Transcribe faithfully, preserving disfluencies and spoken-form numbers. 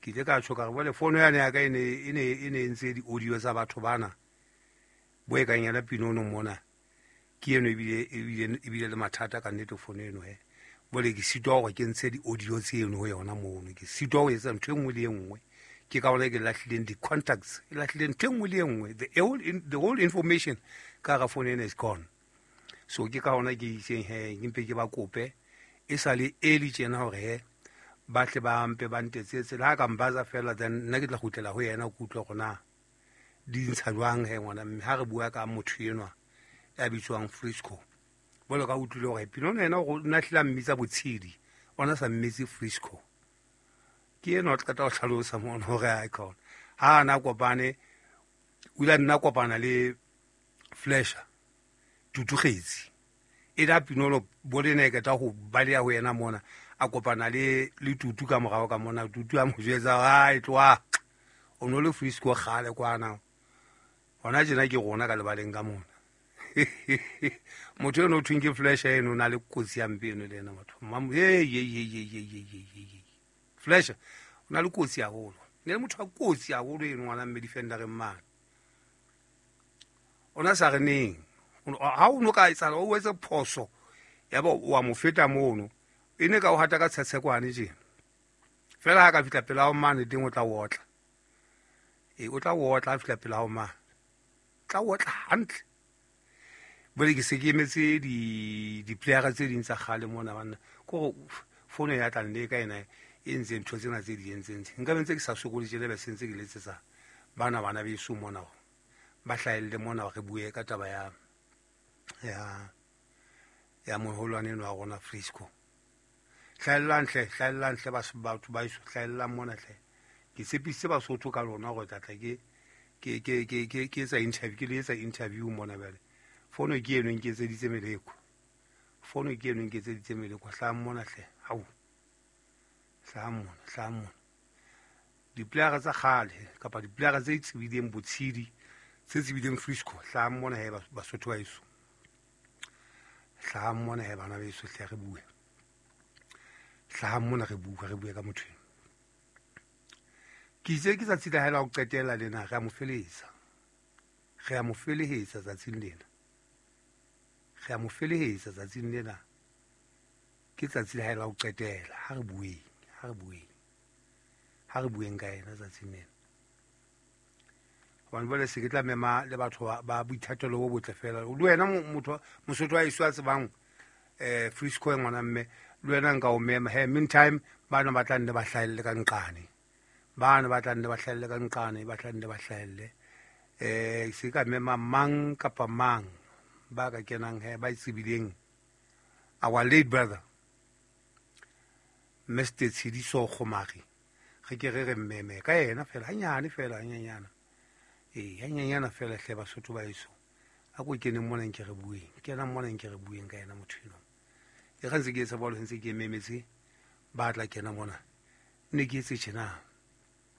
Ke ile ka tjho ka re bole fono yane ya ka e ne e ne e ne ntse di-audio tsa batho bana bo e kang yena Pinono mona. Ke eno ebile ebile ebile le mathata ka nnete fono eno he. Bole ke sitwa hore ke ntshe di-audio tseno ho yona mono. Ke sitwa ho etsa ntho e nngwe le e nngwe. Ke ka hona ke lahlileng di-contacts, ke lahlileng ntho e nngwe le e nngwe. The whole, the whole information ka hara fono ena is gone. So ke ka hona ke itseng he ke mpe ke ba kope e sa le early tjena hore he ba tle ba mpe ba ntetsetse le ha ka mbatsa fela, then nna ke tla kgutlela ho yena ke utlwe hore na di ntsha jwang he ngwana mme ha re bua ka motho enwa ya bitswang Frisco. Bolo ka utlwile hore Pinono yena o na hlile a mmitsa Botshedi, ona sa mmitse Frisco. Ke enwa o qeta ho hlalosa mona hore a khona ha ana kopane, o ile a nna kopana le Flasher Tutugetse e da Pinono bole ne ke ta ho baleha ho yena mona, a kopana le le Tutu ka morao ka mona. Tutu a mo jwetsa ha e tloha o no le Frisco kgale kwana, hona tjena ke rona ka lebaleng ka mona. Motho eno o thweng ke Flasher eno o na le kotsi ya mpe eno le ena batho. Hey, hey, hey, hey, hey, hey, hey. Flasher o na le kotsi haholo, ne le motho wa kotsi haholo eno ngwana mme defendereng mane. Ona sa re neng ha o no ka etsahala o etse phoso ya ba wa mo feta mono, e ne ka o hata ka tshetshekwane tjena fela. Ha ka fihla pela ho mane teng o tla otla, e o tla otla ha fihla pela ho mane, tla otla hantle. Bole ke se ke emetse di di-playera tse ding tsa kgale mona banna, kore fono ya tlang le ka ena e ntse ntho tsena tse di entseng tse nka be ntse ke sa sokole tjena, be se ntse ke letsetsa bana bana beso mona hore ba hlahelle mona re bue ka taba ya ya ya moholwane eno wa rona Frisco. Hlahellang hle, hlahellang hle batho ba eso, hlahellang mona hle. Ke tshepisitse Basotho ka lona hore tla tla ke ke ke ke ke ke etsa interview, ke le etsa interview mona bjale. Fono ke eno e nketseditse meleko, fono ke eno e nketseditse meleko. Hlahang mona hle, hau, hlahang mona, hlahang mona. Diplayera tsa kgale kapa diplayera tse tsebileng Botshedi, tse tsebileng Frisco, hlahang mona he Basotho ba eso. Hlahang mona he bana beso hle re bue. Hlahang mona re bue, re bue ka motho eno. Ke itse ke tsatsi la hae la ho qetela lena, re a mo felehetsa. Re a mo felehetsa tsatsing lena. Re a mo felehetsa tsatsing lena. Ke tsatsi la hae la ho qetela. Ha re bueng, ha re bueng. Ha re bueng ka yena tsatsing lena. Hobane jwale se ke tla mema le batho ba boithatelo bo botle fela. Le wena motho Mosotho wa heso a tsebang eh Frisco e ngwana mme, le wena nka o mema. He meantime bana ba tla nne ba hlahelle ka nqane. Bana ba tla nne ba hlahelle ka nqane, ba tla nne ba hlahelle. Eh se ka mema mang kapa mang ba ka kenang he ba tsebileng our late brother Mister Tshidiso Kgomari. Re ke re re mmeme ka yena fela hanyane fela hanyanyana. E hanyanyana fela hle Basotho ba eso. A ko kene mona nke re bueng, kena mona nke re bueng ka yena motho eno. E ga ntse ke etsa bolo ntse ke memetse ba tla kena mona. Ne ke etse tjena.